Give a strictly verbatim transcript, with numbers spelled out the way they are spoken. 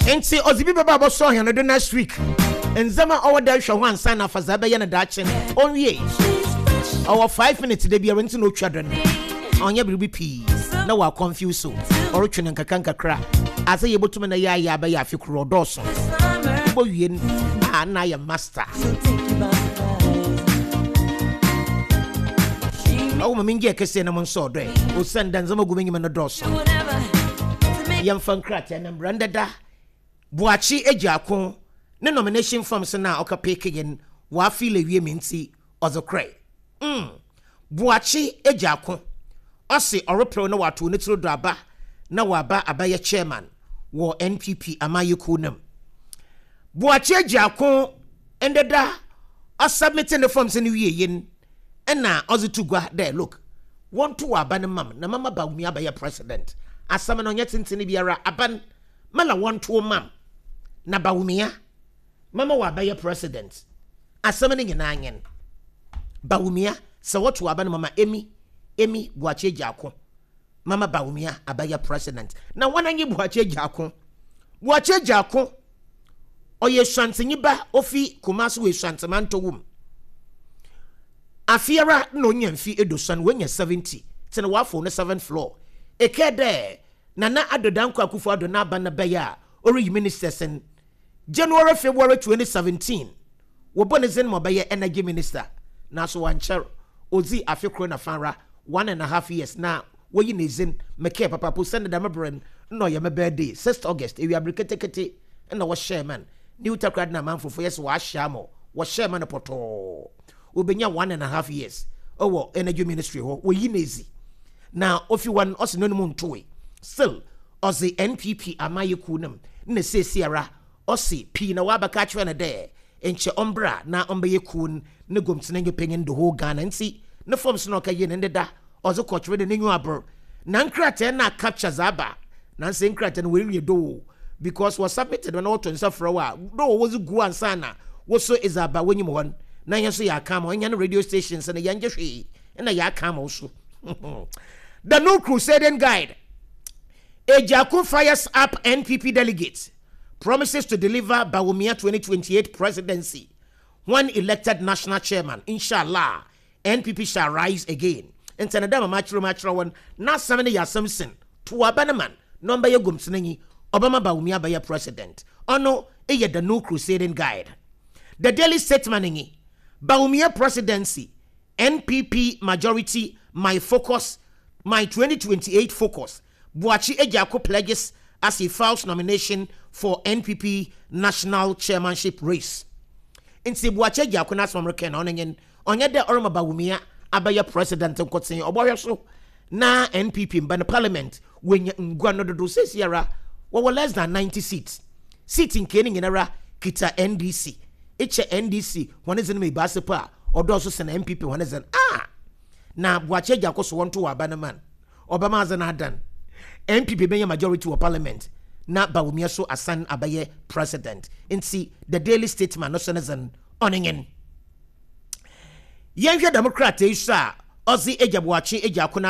Nti ɔdze bi bɛba abɔsɔ hɛn do next week. Ndzɛmba a ɔwɔ dɛ hwɛ ho ansa na afa dza ɛbɛyɛ no daakye no ɔnwie. Ɔwɔ five minutes da biara nti na otwa do no, ɔnyɛ biribi pii na wɔ confuse so, ɔretwe no nkakra nkakra ase. Yɛbɛtumi na yɛ ayɛ abɛyɛ afe koro ɔdɔɔso bɔ wie no a, na ayɛ master. Ɔwɔ ma mengye kɛseɛ na mo nso ɔdɔ ɛ osiane da ndzɛmba gu m'enyim no dɔɔso. Yɛmfa nkrataa na mbra ndɛda. Boakye Agyarko ne nomination forms na ɔka pick yɛn wɔafill awie mi nti ɔdze korɛ mm. Boakye Agyarko ɔse ɔreperew na wato ne tiri do aba na waba abɛyɛ chairman wɔ N P P amayɛkuo nam. Boakye Agyarko ndeda ɔsubmit ne forms no wie yɛn ɛna ɔdze to gua dɛ, look, wɔnto wɔ aba no mam na mama Bawumia abɛyɛ president. Asɛm no ɔnyɛ tenten biara. Aba mala wɔnto mam na Bawumia mama wɔ abɛyɛ president. Asɛm no nyinaa nyɛn Bawumia sɛ wɔto aba no mama emi emi Boakye Agyarko mama Bawumia abɛyɛ president. Na wɔn anyi Boakye Agyarko. Boakye Agyarko ɔyɛ Suantenyi ba, ofi Kumasi wɔ Esuantemantɔ wom. Afiara na onya mfi edosan, wonya seventy tena wafo no seventh floor. Eke dɛ Nana Addo Dankwa Akufo Addo n'aba na bɛyɛ a ɔreyi ministers in January, February twenty seventeen, wɔbɔ ne dzin ma ɔbɛyɛ energy minister, nanso wankyɛr odzi afe koro na fanra, one and a half years, na wɔyi ne dzin. Mekɛɛ papapo sɛne dɛm berɛ no na ɔyɛ me birthday, sixth August, ewiabere ketekete ɛna wɔhyɛɛ man New Takoradi na amanfofo yɛ sɛ wɔahyɛ ama wɔhyɛɛ ma no pɔtɔɔ. Obɛnya one and a half years ɔwɔ energy ministry hɔ, wɔyi ne ezi na ofi hɔ no ɔsi n'anim ntoe. Still ɔse N P P amayɛkuo no mu na seesiara ɔse pii na wabɛka akyerɛ no dɛ nkyɛ ɔmbra na ɔmbɛyɛ kuo no ne gomtena nyɛ panyin the whole Ghana. Nti ne forms na ɔka yie ne ndeda ɔdze kɔtwerɛ de n'enyiwa abor na nkrataa na capture dza aba. Nansi nkrataa no wɔnwie do because wɔ submit no na wɔto nsa frɛ wo a do wɔdze gu ansa na wɔso edze aba wɔnyim hɔ na yɛn nso yɛ aka ama ɔnyɛ no radio stations no yɛngye hwee ɛna yɛ aka ama wo so. The New Crusading Guide: Agyarko fires up N P P delegates, promises to deliver Bawumia twenty twenty-eight presidency when elected national chairman. Inshallah, N P P shall rise again. Nti na dama makyerɛ mu akyerɛ wɔn n'asɛm no yɛ asɛm sin to aba no man na ɔmbɛyɛ gomtenanyi, ɔbɛma Bawumia bɛyɛ president. Ɔno ɛyɛ The New Crusading Guide. The Daily Statesman nyi Bawumia presidency, N P P majority my focus, my twenty twenty-eight focus. Boakye Agyarko pledges as he files nomination for N P P national chairmanship race. Nti Boakye Agyarko n'asɛm rekɛ na ɔno nye ɔnyɛ dɛ ɔrema Bawumia abɛyɛ president nkoten, ɔbɔhwɛ so na N P P mba no parliament wɔnya ngua no dodo. Sesiara wɔwɔ less than ninety seats. Seat nke no nyinara kita N D C. Ekyɛ N D C wɔn dze no ma ebaase pa a ɔdɔɔso sɛn N P P wɔn dze ah na Boakye Agyarko so wɔnto wɔ aba no man ɔbɛma adze no adan N P P bɛnya majority wɔ parliament na Bawumia so asan abɛyɛ president. Nti The Daily Statesman no so ne dze ɔne nyen yɛnhwɛ dɛm krataa yi so a ɔdze agya Boakye Agyarko no.